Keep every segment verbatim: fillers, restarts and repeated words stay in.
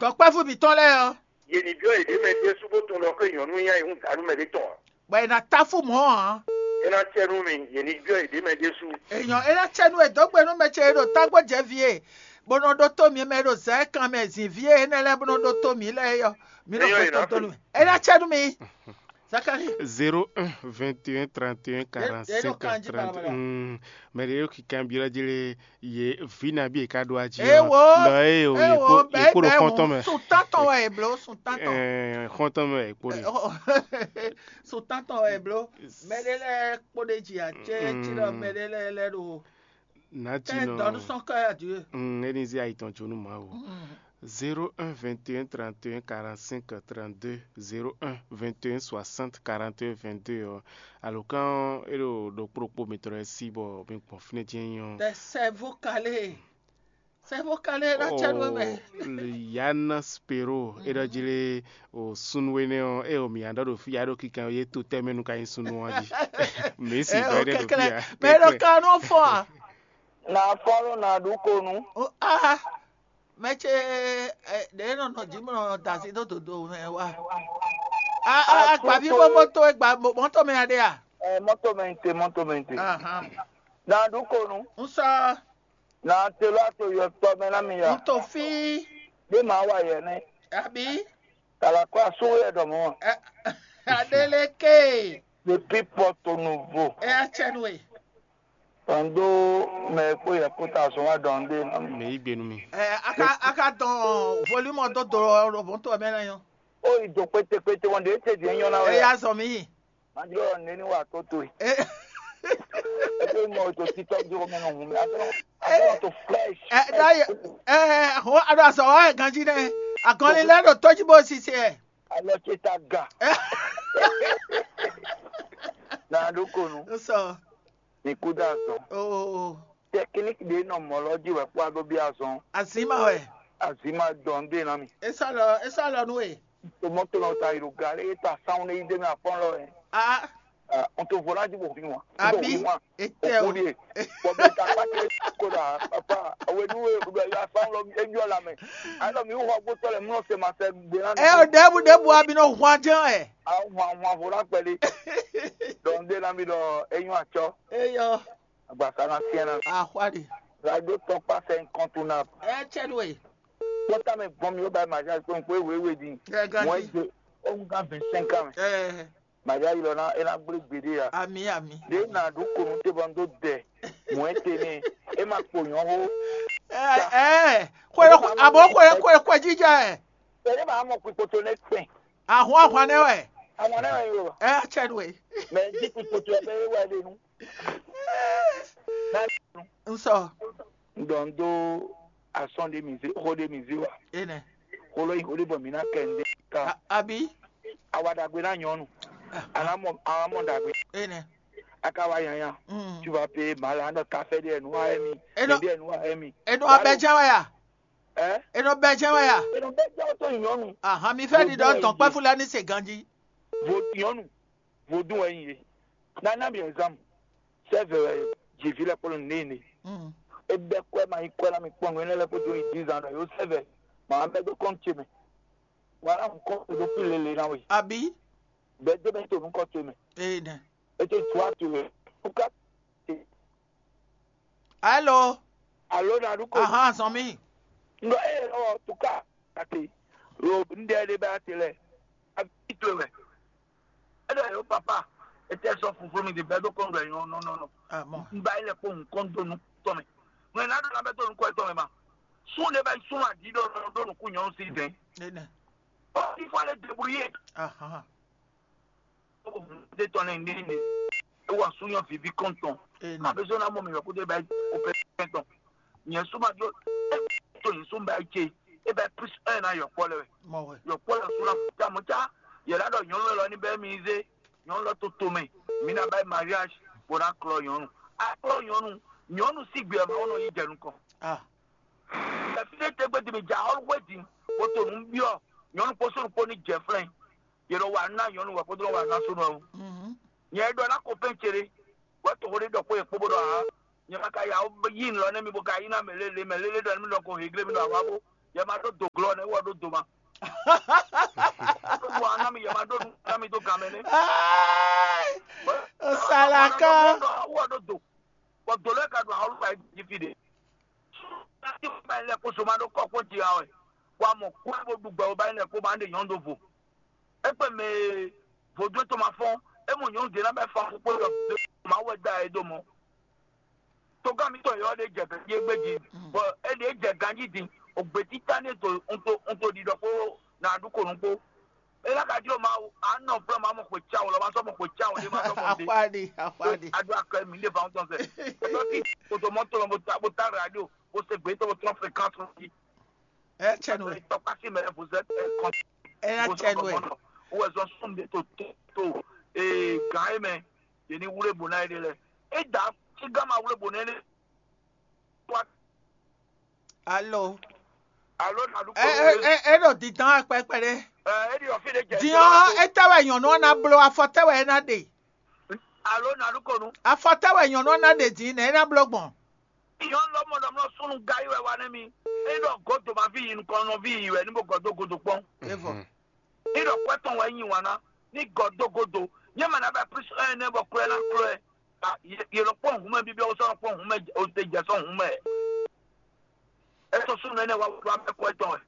Dɔ̌nkpɛ́vú mǐtɔn lɛ́ɛ ɔ́, Yě ní byɔ́ yěɖée mɛ ɖésú bó tunwun ɖɔ xó e nyɔ̌nu nyanya e hǔn dǎ nú mɛɖé tɔn ǎ. Bɔ è nǎ tá fú mɔ̌ ǎ. É ná cɛ nú mi, yě ní byɔ́ yěɖée mɛ ɖésú. Èèyàn é ná cɛ nú è dǒ gbe nú mɛ ce e ɖo tágbó jɛ vǐ e, bó nɔ ɖótó mǐ mɛ e ɖo zɛ̌ kan mɛ zǐn vǐ e énɛ́ lɛ́ɛ bó nɔ ɖótó mǐ lɛ́ɛ é ɔ́, mǐ nɔ Eyɔ́, xwe è nǎ tɔn dó nú mì. É ná cɛ nú mi. Zakari. Zéro un vingt et un trente et un quarante cinq kan jí trente. balabala. Mɛ ɖě ɖo kikan byɔ́ jí lé ye vǐ nabí e ka ɖó ají. Ewo. Lɔ eye o Ewo, ye kpo ɖo xɔntɔn mɛ. Sùn tántɔn wɛ è bló, sùn tántɔn. Ɛɛ, xɔntɔn mɛ e kpo ɖe. Sùn tántɔn wɛ è bló. Mɛ ɖé lɛ́ɛ kpó ɖé jì acé cí ɖɔ mɛ ɖé lɛ́ɛ lɛ́ɛ ɖo Nati kɛ dɔnu nɔ. sɔn kɛ adieu. Mm, Eni zi ayi tɔn jó nú Mawu. Zéro un vingt et un trente et un quarante cinq trente deux, zéro un vingt et un soixante quarante et un vingt deux ɔ́. Alǒkan ɔ́, é ɖo ɖokpó ɖokpó mitɔn lɛ́ɛ sí bɔ mi gbɔn fínɛ́ jɛ́n nyí ɔ́. Tɛ sɛvo kalé. Sɛvo kalé ná cɛ nú mɛ. Yana Spero é ɖɔ jí lé o súnnu énɛ́ ɔ́, é o mǐ nya ɖɔ ɖo fí ya ɖo kíkan yé to tɛ́ mɛ nu ka nyí súnnu ɔ́ jí. Mǐ sì Ɛ gbɔ o énɛ́ ɖo fí kɛkɛlɛ. ya. Mɛ ɖo ka nɔ fɔ a. Na fɔlɔ na ɖu ko nu. O a. Mɛ ce ɛ ɖe nɔ nɔ jí mɔ dasi do dodo mɛ wa. A a agbavi bó bó tó egba mɔtɔ mɛ aɖe a. Ɛ mɔto mɛ te mɔto mɛ te. Ahan. Na ɖu ko nu. N sɔ Na te lɔ ato yɔ tɔ mɛ na mi ya. N to fi. Bí màá wà yɛ ní. Abi. Kàlà kó asúwò yɛ dɔ̀mọ́. Adeleke. Depuis Porto Novo. Ɛ atsɛ nu e. Tɔndo mɛ kpó yɛ kó ta zɔn wá dɔn dé nɔ. Mɛ yí gbe nú mi. Ɛ aka aka dɔn volume ɔdɔ dɔ lɔbɔntɔ mɛ na yɔ. Ó yi do kpétékpété wọn ɖe étè diɛ nyɔ na wɛ. Eya zɔ mi. Madjɔ ne ni wà tó to yi. Ɛ Ẹ pé mọ ètò títọ́ dúró mẹ́nu hùn mi. Àtọ́nà àtọ́nà tó fresh. ɛ da yɛ ɛ ho ado azɔ wa ganji nɛ. Agɔnni lɛ do tɔji bo sisi ɛ. Alɔ tse ta ga. Ɛ Na ɖo ko nu. N sɔ. Ní kú dá zɔn. O o o. Tɛkiníkì ɖé nɔ mɔ̌ lɔ jí wɛ kpó adó bí azɔn. Azima wɛ. Azima dɔn dé na mi. Esa lɔ esa lɔ nu e. Tomɔto nɔ ta yi ɖo ga lé ta sanwó ne yi dé mi afɔn lɔ yɛ. A N to vɔ láti bò fi wọn. Abi. Etɛ o. Òkú de. Bɔ̀bí ta pàtẹ kó dà papa. Àwọn ènìyàn wẹ̀ wẹ̀ yà sanwó lọ ẹjọ́ la mẹ́. Àlọ́ mi wọ́n gbó tọ́lẹ̀ mú ọ̀sẹ̀ màá sẹ́ gbé lánàá. Ɛ o debu debu abi nɔ hwan jɛn ɛ. Àwọn àwọn àfọlá pẹ̀lú. Dɔn dé na mi dɔ eyín àtsọ. Eyɔ. Àgbàsá na fiẹ́ na. Ahwari. Làdó tọ́ pàṣẹ nǹkan tó na. Ɛ tsɛ nu e. Pọ́tà mi gbọ́n mi ó bá màjá pé n pé wéwé di. Ɛ Wọ́n ganji. jẹ ó ń gá vingt-cinq ans. Ɛ Màjá yìí lọ ná é ná gbé gbèdé ya. Ami ami. Ɖé na ɖu konu te bɔ n ɖó dɛ. Mɔ̌ é te nɛ é ma kpo nyɔ̌ xó. Ɛ ɛ. Kwe abo kwe kwe kwe jijɛ ɛ. Ɛ ní màá mɔ kpikpoto nɛ kpɛn. Ahwan ahwan nɛ wɛ. Àwọn náà yóò wá. Ɛ tsɛ nu e. Mɛ jí kpikpoto ɛ bɛ wá lé nu. N sɔ. Ŋdɔ n ɖó asɔn ɖé mi zé xó ɖé mi zé wa. Enɛ. Xó lɔ yi xó ɖé bɔ mi ná kɛ n ɖé ká. A- Abi. Awa ɖagbe ná nyɔnu. Ana mɔ ana mɔ ɖagbe. Enɛ. Aka wa yanya. Mm. Tu vas payer mal anɔ café ɖé nu wa emi. Enɔ- Ɖé nu wa emi. Enɔ abɛ jɛ wa ya. Ɛ. Enɔ bɛ jɛ wa ya. Eno bɛ jɛ to nyɔnu. Ahan mi fɛ di dɔ dɔn kpɛfu la ni se ganji. Vo nyɔnu. Vodun wɛ yin ye. Nana mi exam. Sɛvɛ wɛ jivi lɛ kpɔlɔ ne ne. Mm. Ebe kɔɛ ma yi kɔɛ na mi kpɔn nu enɛ lɛ kpɔtɔ yi dix ans yóò sɛvɛ. Màá bɛ dó kɔn tse mɛ. Wàhálà ń kọ́ tó fi lélẹ̀ náà wẹ̀. Abi. Bẹ́ẹ̀ dé bẹ́ẹ̀ tó ń kọ́ tó mẹ́. Enɛ. Ètò ìtura tó rẹ̀. Tuka. Hello. Alo na du ko. Ahan sɔn mi. Ndɔ e yɛ ɔ tuka. Ati. Ro ndɛ de bɛ ati lɛ. Abi to mɛ. Eɖɔ yɛ o papa. Ete sɔ fuflu mi de bɛ do kɔn do yɔ nɔ nɔ nɔ. Amɔ. N ba yi lɛ kpɔ nukɔn do nu tɔ mɛ. Mɛ na do na bɛ do nukɔn tɔ mɛ ma. Sun de bɛ sun adi do do nukun nyɔ si dɛn. Enɛ. Ɔ ifɔ le débrouiller. Ahan. De tɔn lɛ ne ne. Ewa sun yɔ vivi kɔntɔn. Enɛ. Abe so na mɔ mi yɔ ko de bɛ o pɛ tɔn. Nyɛ suma do. To yi sun bɛ ce. E bɛ plus un na yɔ kpɔ lɛ. Mɔ wɛ. Yɔ kpɔ lɛ sun na ta mo ta. Yɛ la dɔ nyɔnu lɔ ni bɛ mi ze. Nyɔnu lɔ to to mɛ. Mi na bɛ mariage. Bo na klɔ nyɔnu. A klɔ nyɔnu. Nyɔnu si gbɛ ma wonɔ yi jɛ nukɔn. Ah. Ɛfine tɛgbɛ de mi dza ɔlʋwɛ di. Woto nu biɔ. Nyɔnu kpɔsɔn kpɔ ni jɛ flɛn. Yɛ lɔ wa na nyɔnu wɛ kpɔdɔ wa na so nɔ. Mhm. Nyɛ ɖɔ na ko pɛn tsere. Wɛ to hore dɔ ko ye kpo bo dɔ ha. Nyɛ ma ka ya yi lɔ ne mi bo ka yi na mɛ lele mɛ lele dɔ mi dɔ ko hegre mi dɔ awa bo. Yɛ ma ɖó do glɔ́ nɛ́ wɔ ɖó do ma. Ɖó do aná mi yɛ ma ɖó nú aná mi dó gan mɛ nɛ́. Ai, o sala kan. Wɔ ɖó do. Bɔ do lɛ́ ka ɖo ahɔlú ka jí fi ɖe. Láti wɔ bá yín lɛ kó so ma ɖó kɔ́ kpó ji ha wɛ. Wa mɔ kó ɛ bó ɖu gbɛ wɔ bá yín lɛ kó ma ɖe nyɔ̌nu ɖo vo. Égbé mɛ vodún tó ma fɔ́n, é mɔ nyɔ̌nu ɖě ná bɛ fɔ́n kpó ɖɔ Mawu wɛ da ɛ dó mɔ. Togán mitɔn yɔ ɖe jɛ ganjí égbé jí, bɔ é ɖě jɛ ganjí din, ògbè títá ní to un to un to ɖiɖɔ kpó nǎ ɖu kò nú kpó. É ná ka jló Mawu, a nɔ flɔ́ ma mɔ xwe cáwun lɔ, ma sɔ́ mɔ xwe cáwun ɖé, ma sɔ́ mɔ ɖé. Axwáɖi, axwáɖi. A ɖó akɔ mi ɖé fa ŋutɔn sɛ. Kòtò mɔtò lɔ bó ta bó ta radio, bó se gbé tó bó trɔ́n fréquence jí. Ɛ cɛ nú ɛ. Tɔkpasi mɛ, vous êtes un con. Ɛ na cɛ nú ɛ. Wɔ zɔn sun de to to to ee gan e mɛ, yɛ ni wúlé bò náà yɛ de lɛ. E da si gama wúlé bò náà yɛ de. Alo. Alo, na du ko. Ɛ ɛ ɛ ɖo dindɔn akpɛkpɛ ɖe. Ɛ e di ɔfi de jɛ. Diɔ etɛ wɛ nyɔnu ɔ́ ná bló, afɔ tɛ wɛ é ná ɖe. Alo, na du ko nu. Afɔ tɛ wɛ nyɔnu ɔ́ ná ɖe din nɛ é ná bló gbɔn. Nyɔnu lɔ mɔ ɖɔ mlɔ súnnu ga yi wɛ wa nɛ mi. E ɖɔ godo ma vi yi nukɔn nɔ vi yi wɛ ní bo gɔdo godo kpɔn. Evɔ. Ní ɖɔ kwɛ tɔn wɛ nyi wan ná. Ní gɔdo godo. Nyɛ mɛ na bɛ plisu ɛn nɛ bɔ klɔ ɛ ná klɔ ɛ. Yelɔ kpɔn hun mɛ bibi ɔwɔ sɔnɔ kpɔn hun mɛ o te jɛ sɔn hun mɛ. Ɛsɔ súnnu ɛnɛ wa wá mɛ kwɛ tɔn wɛ.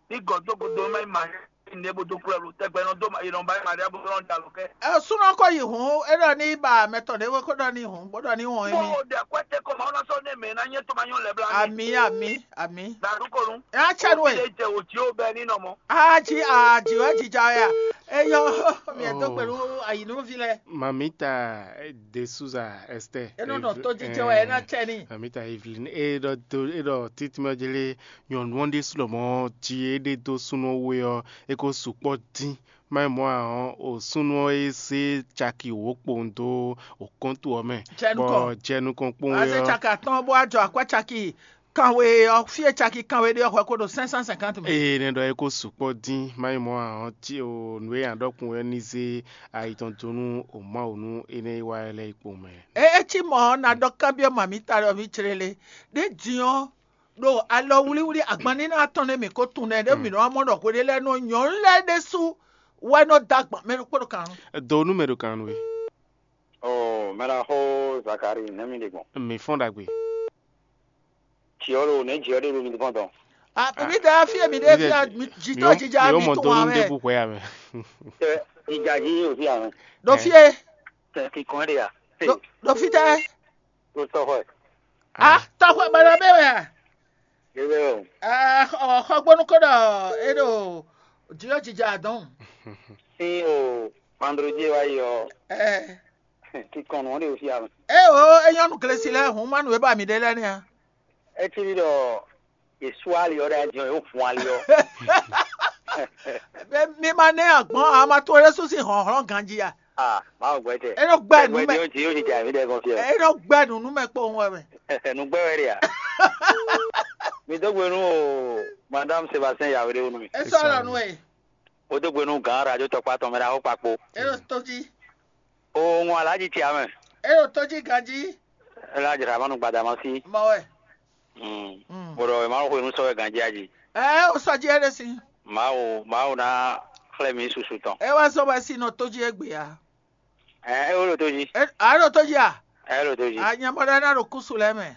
Ní gɔdo godo mɛ ma. Ne bo dó kplɔ́ ɖo tɛgbɛ nɔ dó ma yi nɔ ba yi Maria bó nɔ da lɔ kɛ. Ɛ súnɔ kɔ yi hǔn, é ɖɔ ní ba mɛ tɔn ɖé ko ɖɔ ní hǔn, bó ɖɔ ní wɔn émí. Bó o ɖɛ kwɛ́ tɛ́ kɔ ma ɔ́ ná sɔ́ ní mɛ ná nyɛ tó ma nyɔ́ lɛ bla mì. Ami, ami, ami. Nà ɖu ko nu. Ɛ á cɛ nú Òbí ɛ. Ɖe jɛ wò jí ó bɛ ní nɔ mɔ. Á jí, á jí wɛ jija ya. Eyɔ, mi ɛ dó gbe nú ayǐnúví lɛ. Mamita de Souza Esther. É nɔ nɔ tó jijɛ wɛ, é ná cɛ ní. Mamita Evelyn, é ɖɔ do, é ɖɔ títí mɛ jélé nyɔ̌nu ɔ́ ɖésú lɔmɔ̌ jí é ɖe dó súnnu ɔ́ wé ɔ́, é ko sukpɔ́ dín. Má nyí mɔ̌ ǎ ɔ́, o súnnu ɔ́ e zé caki wǒ kpowun dó o kɔ́ntu ɔ́ mɛ, bɔ jɛ nukɔn kpowun é ɔ́. Azé caki atɔ́ɔ́n bó wá jɔ akwɛ́ caki kanwe ɔ́, fí e caki kanwe ɖe ɔ́ hwɛ ko ɖo cinq cent cinquante mɛ. Ée nɛ́ ɖɔ é ko sukpɔ́ dín, má nyí mɔ̌ ǎ ɔ́, cí o nǔ e nya ɖɔ kpowun ɔ́ ní zé ayi tɔn dó nú o Mawu nú énɛ́ e wá ɛ lɛ́ɛ yi kpowun mɛ. É é cí mɔ̌ ɔ́, ná ɖɔ kanbyɔ́ mǎmítá ɖɔ mǐ clé lé. Ɖě din ɔ́, ɖo alɔ wlíwlí agbanníná tɔn nɛ́ mǐ ko tunwun nɛ́ ɖé mǐ nɔ wá mɔ ɖɔ hweɖé lɛ́ɛ nɔ nyɔ̌nu lɛ́ɛ ɖésú wɛ nɔ dó agban mɛ ɖokpó ɖo kan. Do nú mɛ ɖo kan nú we. Oh, mɛ ɖaxó Zakari, nɛ̌ mi ɖe gbɔn? Mi fɔ́n ɖagbe. Jǐɔ ɖo nɛ̌ jǐɔ ɖe ɖo mi fɔ́n tɔn? Ah, mi ɖe afi e mi ɖe fia, mi jitɔ jija mi tunwun amɛ. Ɖebu hwɛ amɛ. Tɛ ìjà jí òsì àmì. Ɖo fie. Tɛ kíkɔn ɖe ya. Ɖo fi tɛ. Ɖo tɔxɔ. Ah, tɔxɔ bana bɛ wɛ. Ebe o. Ah, xɔgbónú ko ɖɔ e ɖo jiyɔ jija dɔn. Sí o, vendredi wa yi ɔ. Ɛ. Kíkɔn nɔ ɖe òsì àmì. E o, e nyɔnu glesi lɛ hun manu e ba mi ɖe lɛ nɛ. Etsi ɖɔ Yesu ali ɔ́ ɖe ajɔ yóò fún ali ɔ́. Mi ma nɛ agbɔn ama to ɖé súnsi hlɔ̌nhlɔ́n ganjí a? Ah, máa gbɛ tɛ. E nɔ gbɛ nu mɛ. Yóò ti yóò ti jà mí ɖe kɔn fia. E nɔ gbɛ nu nu mɛ kpowun wɛ mɛ. Nu gbɛ wɛ ɖe a? Mi dó gbe nú o madame Sébastien Yawédé wú nú mi. E sɔ́ lɔ nu e. Ó dó gbe nú gǎn radio tɔkpá tɔn mɛ ɖaxó kpakpo. E ɖo tó jí. O ŋun alájí ti amɛ. E ɖo tó jí ganjí. Ela jra manu gbadama sí. Mɔ wɛ. Mm. Bɔɖɔ ema xwe nu sɔ wɛ ganjia ji. Ɛ o sɔ ji ɛɖe si. Mawu, Mawu ná xlɛ́ mǐ susu tɔn. E wá sɔ wɛ si nɔ tó ji egbe ya. Ɛ e wo ɖo tó ji. E a ɖo tó ji a? Ɛ e ɖo tó ji. A nyɛ mɔ ɖe na ɖo kusu lɛ mɛ.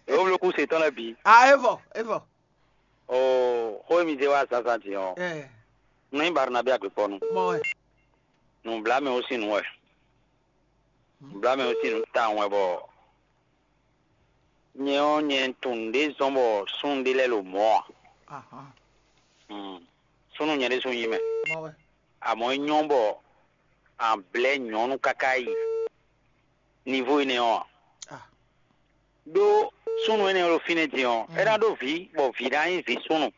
Ewo blo kusu etɔn lɛ bi. A evɔ, evɔ. O xó mi zé wá zazan din ɔ. Ɛ. Nɔ nyi Barnabé agbekpɔnu. Mɔ wɛ. Nublamɛ wo sin nu wɛ. Nublamɛ wo sin nu tawun wɛ bɔ nyɛ ɔ́ nyɛ tunwun ɖé zɔn bɔ súnnu ɖé lɛ́ɛ lo mɔ̌ ǎ. Súnnu nyɛ ɖésú nyí mɛ. Amɔ̌ é nyɔ́ bɔ a blɛ̌ nyɔ̌nu káká yi nivo énɛ́ ɔ́ ǎ. Ɖó súnnu énɛ́ e ɖo fínɛ́ din ɔ́, é ná ɖó vǐ, bɔ vǐ ná nyí vǐ súnnu.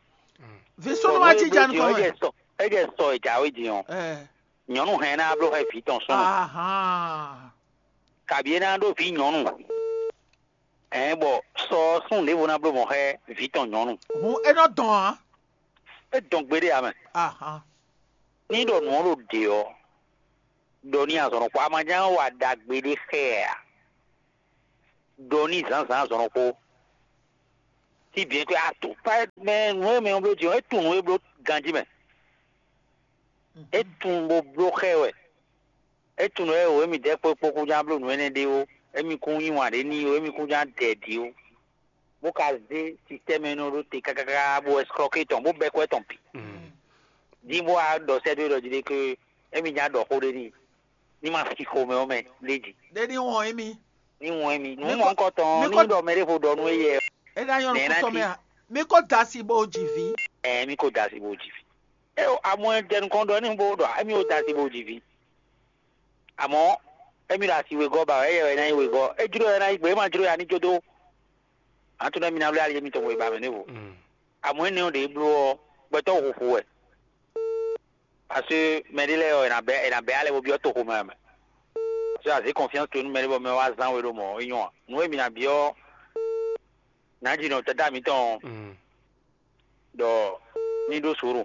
Vǐ súnnu wá cí jɛ nukɔn mɛ. É jɛ sɔ é jɛ sɔ e jǎwe din ɔ́, nyɔ̌nu hɛn ná bló xɛ vǐ tɔn súnnu. Kabǐ é ná ɖó vǐ nyɔ̌nu. Ɛ̌n bɔ sɔ ɔ́ súnnu ɖěvo ná bló mɔ̌ xá vǐ tɔn nyɔ̌nu. Hǔn é nɔ dɔn ǎ. É dɔn gbeɖé ǎ mɛ. Ahan. Ní ɖɔ nǔ ɔ́ ɖo ɖě ɔ́, ɖɔ ní azɔ̌ nɔ kpó amaján wa ɖagbe ɖé xá ɛ ǎ. Ɖɔ ní zǎnzǎn azɔ̌ nɔ kpó. Si bien que a tout pas mɛ nǔ e mɛ bló din ɔ́, é tunwun nǔ e bló ganjí mɛ. É tunwun bó bló xɛ wɛ. É tunwun nǔ e wǒ émí dɛ́ kpó kpó kún ján bló nǔ énɛ́ ɖé ó. Émí kún yí wǎn ɖé n'i ó, émí kún ján dɛ ɛ ɖi ó. Bó ka zé système énɛ́ ɖó te kákáká bó escroquer tɔn bó bɛ́ kɔ́ tɔn bǐ. Din bó wá ɖɔ sɛ́ dó ɖɔ jí ɖé que émí ján ɖɔ xó ɖé n'i, ní ma fi xomɛ ɔ́ mɛ léjì. Ɖé ní wɔn émí. Ní wɔn émí. Nǔ mɔ kɔ tɔn ní ɖɔ mɛ ɖé vo ɖɔ nú éyɛ. É ná nyɔ́ nǔkútɔ́ mɛ a? Mi ko da asi bó ji vǐ. Ɛ mi ko da asi bó ji vǐ. É o amɔ jɛ nukɔn ɖɔ ní bó ɖɔ émi o da asi bó ji vǐ. Àmọ́ émi ɖo asi wegɔ́ ba wɛ, éyɛ wɛ ná nyí wegɔ́. É jló wɛ ná nyí gbe, é ma jló ya ní jó dó. Ǎ tún nɛ́ mi ná wlí ali émitɔn wɛ ba mɛ nú vo. Àmọ́ énɛ́ ɔ́ ɖě bló ɔ́, gbɛtɔ́ huhu wɛ. Parce que mɛ ɖé lɛ́ɛ ɔ́, è nǎ bɛ́ è nǎ bɛ́ alɛ bó byɔ́ toxo mɛ mɛ. Parce que azě confiance towe nú mɛ ɖé bɔ mɛ wá zán we ɖó mɔ̌, é nyɔ́ ǎ. Nǔ e mi ná byɔ́ nǎ ji nɔ tata mitɔn ɔ́, ɖɔ ní ɖó sǒro.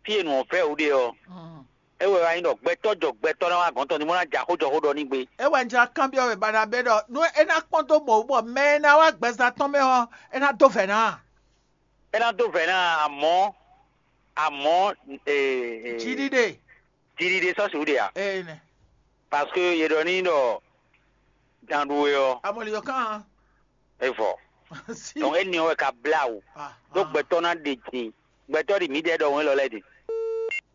Fí e nǔ ɔ́ vɛ́ wǔ ɖe ɔ́, é wɛ wá nyí ɖɔ gbɛtɔ́ jɔ gbɛtɔ́ ná wá gɔ̌n tɔn ní bó ná jɛ axó jɔ xó ɖɔ ní gbe. É wɛ un jlá kanbyɔ́ wɛ ba ná bɛ́ ɖɔ nú é ná kpɔ́n dó mɔ̌ bɔ mɛ e ná wá gbɛzán tɔn mɛ ɔ́, é ná dó vɛ̌ ná a? É ná dó vɛ̌ ná amɔ̌, amɔ̌ ee, ee, Jiɖiɖe. Jiɖiɖe sɔ́ sixú ɖe a? Ee nɛ. Parce que yě ɖɔ n'i ɖɔ danɖu e ɔ́, Amɔliyɔ kan. É vɔ. Si. Donc énɛ́ ɔ́ wɛ ka blá wǔ. Ah, ɖó ah. Gbɛtɔ́ ná ɖe din. Gbɛtɔ́ ɖi mǐdɛɛ ɖɔhun élɔ́ lɛ́ɛ din.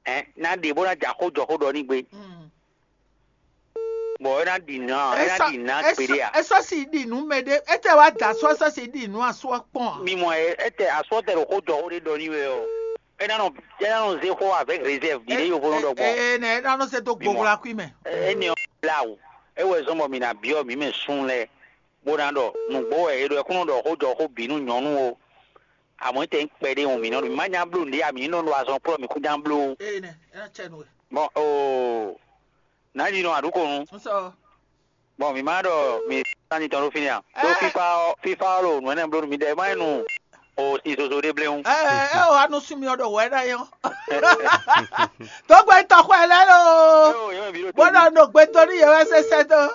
Ɛn ná ɖe bó ná jɛ axó jɔ xó ɖɔ ní gbe. Mm. Bɔ é ná ɖi nǎ é ná ɖi nǎ gbeɖé a? Esɔ si ɖi nú mɛ ɖé, etɛ wá da asɔ esɔ si ɖi nú asɔ kpɔn a? Mi mɔ ɛ etɛ asɔ tɛ ɖo xó jɔ xó ɖé ɖɔ ní wɛ ɔ. É ná nɔ é ná nɔ zé xó avec réserve ɖi ɖé yovo nɔ ɖɔ gbɔn. Ee nɛ é ná nɔ se dó gbogbo akui mɛ. Énɛ́ ɔ́ blá wǔ. É wɛ zɔ́n bɔ mǐ ná byɔ́ mǐ mɛ sun lɛ́ɛ bó ná ɖɔ nǔgbó wɛ è ɖɔ é kún nɔ ɖɔ xó jɔ xó bǐ nú nyɔ̌nu o. Àmọ́ é tɛ nyí kpɛɖé hɔn mǐ nɔ ɖo mǐ má nya bló nǔɖé a mǐ ní nɔ ɖo azɔn kplɔ́ mǐ kún nya bló. Ee nɛ é ná cɛ nú we. Bɔn oo. Nǎ yi nɔ aɖǔkonu. Bɔn mǐ ma ɖɔ mǐ sani tɔn ɖó fínɛ́ a? Ɖó fífá ɔ́ fífá ɔ́ ɖo nǔ énɛ́ bló nú mǐdɛɛ má nyí nu o sin zozo ɖé bléwún. Ɛ ɛ o anu sun mi ɔdɔ wɛ na yɔ. Tó gbɛ tɔxɔ ɛ lɛ lo. Bó ɖɔ nɔ gbɛtɔ ní yɛ wɛ sɛsɛ tó.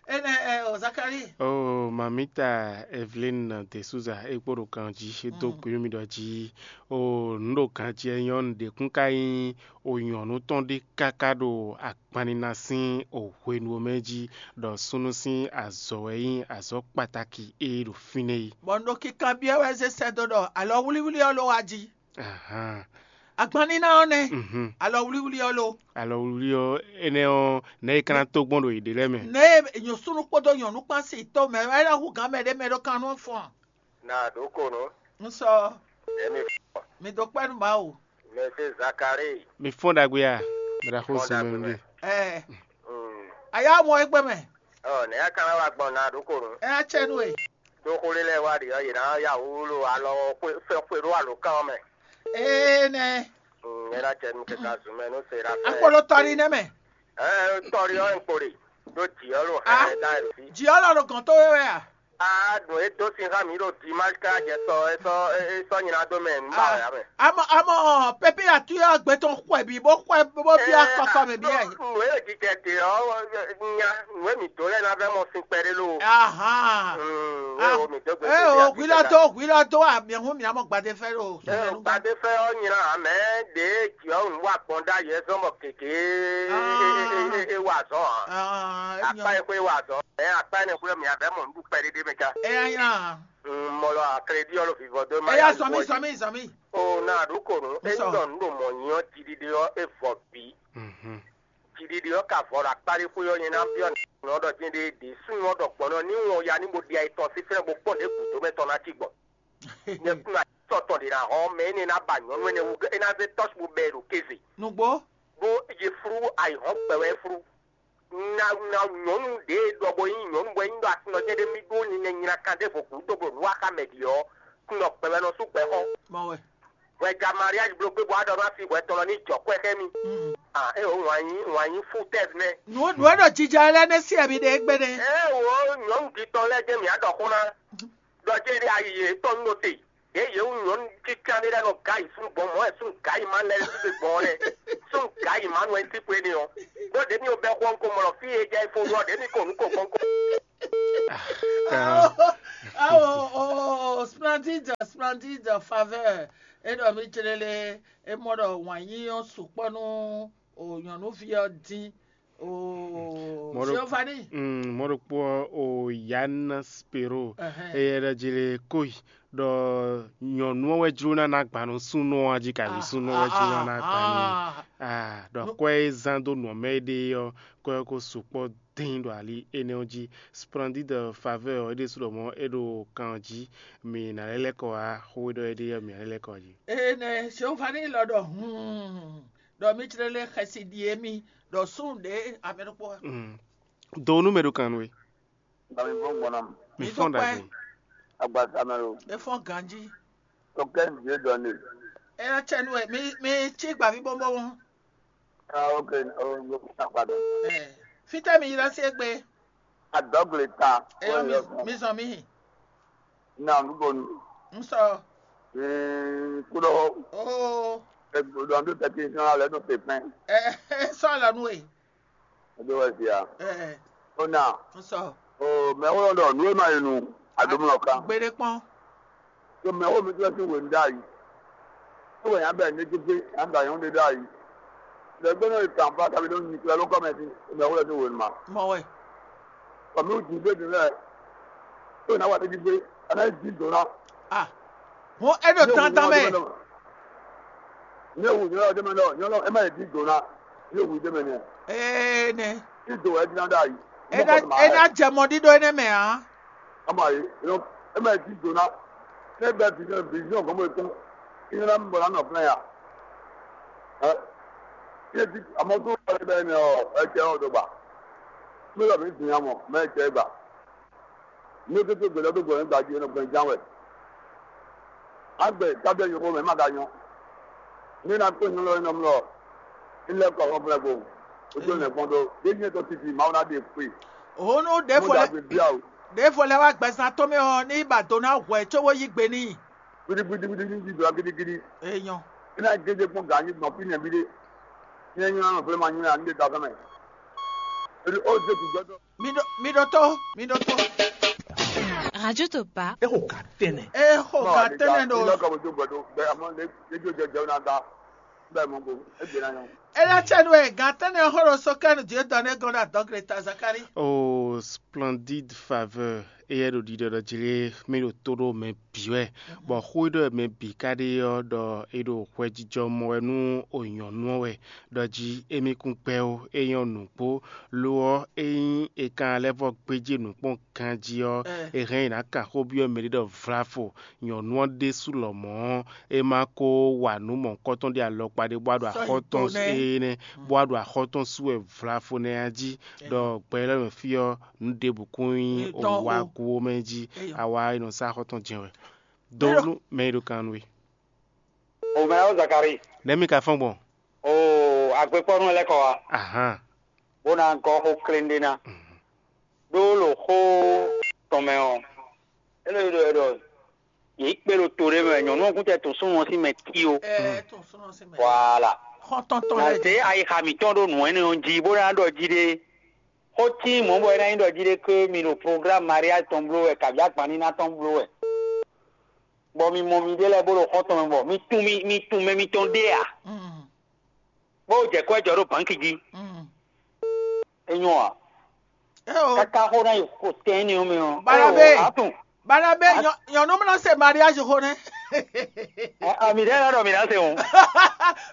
Ene ɛ o Zakari. O mamita Evelyn de Souza e kpo ɖo kan jí e dó kpé nú mi ɖɔ jí o nǔ ɖo kan jí ɛ nyɔ́ nǔɖé kún ka nyí o nyɔ̌nu tɔn ɖé káká ɖo akpannina sín o hwenu ɔ́ mɛ jí ɖɔ súnnu sín azɔ̌ wɛ nyí azɔ̌ kpataki e ɖo fínɛ́ é. Bɔ un ɖo kikanbyɔ́ wɛ zé sɛ́ dó ɖɔ alɔ wlíwlí ɔ́ ló wá jí. Ahan. Agbanníná ɔ́ nɛ́, Mhm. Alɔ wlíwlí ɔ́ ló. Alɔ wlíwlí ɔ́ énɛ́ ɔ́ nɛ̌ é ka ná tó gbɔn ɖo yěɖée lɛ́ɛ mɛ? Nɛ̌ nyɔ̌súnú kpódó nyɔ̌nú kpán sin tó mɛ wɛ é ná hu gǎn mɛ ɖé mɛ ɖó kannú ɔ́ fɔ́n. Na ɖǒ ko nǔ. Un sɔ. Emi fɔ. Mi dó kpɛ́ nú Mawu. Mɛ se Zakari. Mi fɔ́n ɖagbe a? Mɛ ɖaxó Fɔ́n zun mɛ ɖagbe ɖe. Ɛ. Mm. Ayá mɔ égbé mɛ. Ɔ nɛ̌ a ka ná wá gbɔn na ɖǒ ko nǔ? Ɛ á cɛ nú e. Ɖó xó lé lɛ́ɛ wá ɖi ɔ́, yě ná ya wúlú alɔ xwé fɛ́ xwé ɖó alǒkan ɔ́ mɛ. Ee nɛ. Mm, é ná cɛ nú kɛka zun mɛ nú se ɖa fɛ. Akpolo tɔri nɛ mɛ. Ɛ tɔri ɔ́ ń kpo ɖe. Ɖó jǐ ɔ́ ɖo Ah, hɛn ɛ dá ɛ sí. Jǐ ɔ́ lɔ ɖo gɔ̌n tó wé wɛ a? A nǔ e dó sin xá mǐ ɖo Dimash ká jɛ sɔ é sɔ́ é sɔ́ nyina dó mɛ nǔ ba wɛ ǎ mɛ. Amɔ amɔ pépé atú ɔ́ gbé tɔn xwɛ bǐ bó xwɛ bó bíá kɔkɔ mɛ bíá yìí. Nǔ e jijɛ te ɔ́ nya nǔ e mǐ dó lɛ́ɛ ná vɛ́ mɔ sin kpɛɖé lo. Ahan. Mm, e o mǐ dó gbé Ee o hwilɔ dó hwilɔ dó a mǐ hu mǐ amɔ gbadé fɛ ɖo. Ee gbadé fɛ ɔ́ nyina mɛ ɖě jǐ ɔ́ nǔ wa gbɔn ɖ'ayǐ é zɔ́n bɔ gěgé é wa azɔ̌ ǎ. Akpá e xwé wa azɔ̌ ɛ akpá énɛ́ xwé mǐ abɛ́ mɔ nǔɖuɖu kpɛɖéɖé mɛ cá. Ɛ nya nya. Mɔlɔ akrédí ɔ́ ɖo vivɔ dó ma Ɛ ya zɔn mì zɔn mì zɔn mì. O na ɖu ko nǔ é Sɔ. Ní ɖɔ nǔ ɖo mɔ̌ nyi ɔ́ jiɖiɖe ɔ́ é vɔ bǐ. Jiɖiɖe ɔ́ ka vɔ ɖo akpá ɖé xwé ɔ́ nyɛ ná byɔ́ nǔ ɔ́ ɖɔ jɛ́n ɖé ɖě súnnu ɔ́ ɖɔ gbɔn nɔ ní wɔn ya ní bo ɖi ayetɔn sín fɛ́n bó kpɔ́n ɖěbǔ dó mɛ tɔn ná cí gbɔn. Nyɛ kún atɔ́ tɔn ɖě ná hɔn mɛ énɛ́ ná ba nyɔ̌nu énɛ́ wú é ná zé tɔ́sibú bɛ́ ɛ ɖo kéze. Nǔgbó. Bó ye flú ayǐhɔ́n gbɛ wɛ é flú. Na na nyɔ̌nu ɖě e ɖɔ bɔ nyí nyɔ̌nu bɔ é nyí ɖɔ aklúnɔjɛ́n ɖé mì ɖó ninɛ nyina kan ɖěvo gǔdo blo nǔ wa xá mɛ ɖi ɔ́, kun ɖɔ gbɛmɛ nɔ sú gbɛ xɔ. Mɔ wɛ. Hwɛ ja mariage blo gbé bɔ á ɖɔ ná fi hwɛ tɔn lɔ ní jɔ kwɛ xɛ mi. Mm. Ah, é o wǎn nyí wǎn nyí fú tɛ́v nɛ. Nǔ nǔ e ɖo jija lɛ́ɛ nɛ́ sí ɛ̀mí ɖe égbé nɛ́. Ɛ wo nyɔ̌nu ɖi tɔn lɛ́ɛ jẹ́ mǐ á ɖɔ xó ná. Ɖɔ jẹ́ ɖé ayi yě tɔn nɔ te. Ɖě yě wú nyɔ̌nu kíkan ɖé lɛ́ɛ nɔ gǎ yi fún gbɔn mɔ̌ wɛ fún gǎ yi má lɛ́ɛ sí gbɔn ɔ́ lɛ́ɛ. Fún gǎ yi má nɔ ɛ sí xwé n'i ɔ́. Ɖó ɖě mi ò bɛ́ xɔ ŋko mɔ lɔ fí e jɛ ifo ɖu ɔ́, ɖě mi ko nǔ ko gbɔn ko. Awo, awo, o, splendide, splendide faveur. E ɖɔ mi tlele, e mɔ ɖɔ wǎn yí ɔ́ sukpɔ́ nú o nyɔ̌nuví ɔ́ dín. O Mɔ̌ ɖo- Giovanni. Mm, mɔ̌ ɖokpó ɔ́, o Yann Spero, Ɛhɛn. Eye ɖɔ jí lé kóyi ɖɔ nyɔ̌nu ɔ́ wɛ jló ná ná gban nú súnnu ɔ́ jí, kaví súnnu ɔ́ wɛ jló ná ná gban n'i. Ah, ɖɔ kɔ́ e zán dó nǔ ɔ́ mɛ é ɖe ɔ́, kɔ́ ɛ ko sukpɔ́ dín ɖo ali énɛ́ ɔ́ jí. Splendide faveur ɔ́, é ɖésú ɖɔ mɔ̌ é ɖo kan ɔ́ jí, mǐ ná lɛ́ lɛ́ kɔ wá xó e ɖɔ é ɖe ɔ́, mǐ ná lɛ́ lɛ́ kɔ wá jí. Ene Giovanni lɔ ɖɔ hǔn ɖɔ mí tlé lé xɛsi ɖi émí ɖɔ súnnu ɖě amɛ ɖokpó wá. Mm. Do nú mɛ ɖo kan nú we. Ba mi fɔ́n gbɔn ná mɛ. Mi Mǐ fɔ́n ɖo ɖagbe. Agbaza mɛ lo. É fɔ́n ganjí. Tɔkɛ nzé dɔn ne. É ná tsɛ nú we, mi mi cí gbavǐ bɔ́bɔ́. Ah, ok, oh, oh, ah, pardon. Ɛ, fítɛ́ mi ylɔ́ sí égbé? Adɔgle ta. Ɛ, mi mi zɔn mi. Na nubonu. N sɔ. Mm, kudo. Oh. Egbodɔ ndo tɛki sɔn alɛ do pepin. Ɛ, sɔ lɔ nu e. Edo wɛ sia. Ɛ, Ona. N sɔ. O mɛ wo dɔ nu e ma yi nu. Adomlɔ kan. Gbede kpɔn. Tó mɛ wo mi tó sí wèé dá yi. Tó wèé yàn bɛ ní títí yàn bɛ yàn dé dá yi. Lè gbé náà yìí tàn fún àtàbí ló ń nyi kílẹ̀ ló kọ́ mɛ sí mɛ wo lè sí wèé ma. Mɔ wɛ. Kɔ̀mí wù jì gbé dùn lẹ̀. Tó náà wà ní gbígbé. Àná yìí dín dùn náà. Ah. Hɔn e ɖo Ní ewu tantɔn mɛ. Ní ewu nyɔlɔ dé mɛ lɔ nyɔlɔ ɛ má yìí dín dùn náà. Ní ewu dé mɛ nìyẹn. Ee nɛ. Ní dò ɛ dín náà dá yi. E ná e ná jɛ mɔ ɖíɖó énɛ́ mɛ ǎ. Ama yi, you know, e ma di dona. Ne bɛ vision vision gɔmɔ tɔn. Ina na bɔ na nɔ plan ya. Ɛ, ye di amɔ to ba bɛ ne o, e cɛ o do ba. Me la mi di amɔ, me cɛ ba. Ne ke to gbɛdɔ do gbɔ ne gbaji ne gbɛn jan wɛ. Agbe tabiɛ yɔkɔ mɛ ma ka nyɔ. Ne na ko nyɔ lɔ ne mlɔ. Ilé kɔ hɔn fúnra gbɔ. O tó nɛ gbɔn do. Ye nyɛ tɔ titi ma wona de kpe. Òun ɖě fɔ lɛ ɖě fɔ lɛ wá gbɛzán tɔn mɛ ɔ́ ní ba do ná hwɛ có wó yí gbe n'i. Gidigidigidi ní yí do gidigidi. Èèyàn. Iná gèdè kpɔn gà ní gbɔn fínɛ bí dé. Ní ẹ nyɔ́ nɔ fúnra ma nyɔ́ ní de ta fún mɛ. Èdè ó zé kù gbẹ́dọ̀. Mi ɖo mi ɖo tó mi ɖo tó. Radio Topa. Eho ka tɛnɛ. Eho ka tɛnɛ ɖo. Ilé kɔ mo tó gbẹdọ bẹ àmọ́ lé lé jó jẹjẹrẹ náà ta. Bẹ́ẹ̀ mo gbó. E gbé náà yàn. Ela tsɛ nu e gan tɛnɛ hɔn ɖo so kɛ nu Dieu donne gɔn ɖo adɔgre ta Zakari. Oh, splendide faveur. Eye ɖo ɖiɖɔ ɖɔ jlé mí ɖo tó ɖo mɛ bǐ wɛ, bɔ xó e ɖɔ mɛ bǐ ka ɖe ɔ́ ɖɔ é ɖo hwɛjijɔ mɔ wɛ nú o nyɔ̌nu ɔ́ wɛ, ɖɔ jí émí kún gbɛ́ ó, é nyɔ́ nǔgbó. Lo ɔ́, ényí è ka lɛ́ vɔ gbéjé nǔkpɔ́n ganjí ɔ́, è hɛn nyi nǎ kan xó byɔ́ mɛɖé ɖɔ vlavo, nyɔ̌nu ɔ́ ɖésú lɔmɔ̌ ɔ́, é ma ko wa nǔ mɔ̌hunkɔtɔn ɖé alɔkpa ɖé bó wá ɖo axɔ́ tɔn énɛ́, bó wá ɖo axɔ́ tɔn sú wɛ vlavo nɛ́ ɔ́ jí, ɖɔ gbɛ élɔ́ mɛ fí ɔ́, nǔ ɖěbǔ kún nyí òwúwagu ó mɛ jí, awa e nɔ sá axɔ́ tɔn jɛ́n wɛ. Dó nú mɛ e ɖo kan nú we. O mɛ ɔ́ Zakari. Nɛ̌ mi ka fɔ́n gbɔn? O agbekpɔ́nú lɛ́ kɔ wá. Ahán. Bó ná gɔ́ xó kléŋɖé ná. Ɖó lo xó tɔn mɛ ɔ́, é lɛ́ ɖɔ é ɖɔ yě kpe ɖo to ɖé mɛ, nyɔ̌nu ɔ́ kún tɛ tun súnnu ɔ́ sín mɛ tí ó. Ɛ tun súnnu sín mɛ. Voilà. Xɔ́ntɔn tɔn Na lɛ́ zě ayixa mǐtɔn ɖó nǔ énɛ́ ɔ́ jí, bó ná ɖɔ jí ɖé. Xó tín mɔ̌ bɔ é ná nyí ɖɔ jí ɖé ké mi ɖo programme mariage tɔn bló wɛ, kabǐ agbanníná tɔn bló wɛ. Bɔ mi mɔ miɖée lɛ́ɛ bó ɖo xɔ́ntɔn mɛ bɔ mi tunwun mi mi tunwun mɛ mitɔn ɖé ǎ. Bó jɛ kɔ́ jɔ ɖó bǎnki jí. É nyɔ́ ǎ. Káká xó ná yi xo tɛn énɛ́ ɔ́ mɛ ɔ́. Balabe. Atún. Balabe, nyɔnu mlɔ se mariage xó nɛ. Ami ɖe la ɖɔ mi ná se o.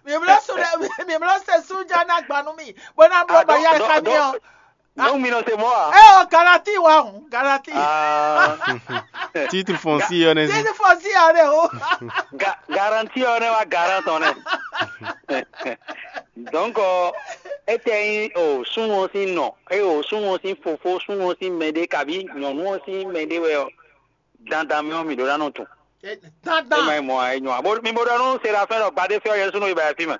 Mi mlɔ su ɖe mi mlɔ se sunja na gbanu mi. Bó ná mlɔ baya xami ɔ. Nɔ́ mi nɔ se mɔ̌ ǎ. Ɛ o Galati wa hùn Galati. Titre foncier ɔ́ nɛ́ sí. Titre foncier ɔ́ nɛ́ o. Ga- Garantie ɔ́ nɛ́ wá garant ɔ́ nɛ́. Donc, étɛ́ nyí o súnnu ɔ́ sín nɔ, é o súnnu ɔ́ sín fofó, súnnu ɔ́ sín mɛɖé, kabí nyɔ̌nu ɔ́ sín mɛɖé wɛ ɔ́, dandan mɛ ɔ́, mǐ ɖó ná nɔ tunwun. É Dandan. Ma nyí mɔ̌ ǎ, é nyɔ́ ǎ. Bó mi bo ɖɔ nú Serafɛ́n ɖɔ gbadé fɛ́ ɔ́ Jezu nɔ yi ba fí mɛ.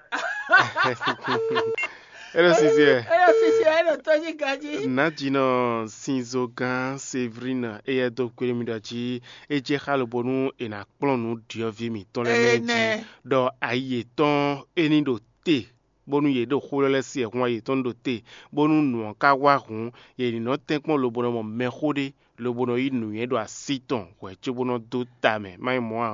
É ɖo sisi wɛ. É ɖo sisi wɛ, é ɖo tójí ganjí. Nǎjínɔ Sinzogán Séverine éyɛ́ dó kpé nú mì ɖɔ jí é jɛ xá lobo nú è nǎ kplɔ́n nǔ ɖyɔ̌vǐ mǐtɔn lɛ́ɛ mɛ jí, ɖɔ ayi yětɔn é ní ɖo te bónú yě ɖo xó lɛ́ lɛ́ɛ sí wɛ hun wá yětɔn ɖo te, bónú nǔ ɔ́ ka wá hǔn, yě ní nɔ tɛ́nkpɔ́n lobo nɔ mɔ mɛxó ɖé, lobo nɔ yí nǔnywɛ́ ɖo así tɔn hwɛ̌ cóbó nɔ dó ta mɛ, má nyí mɔ̌ ǎ ɔ́.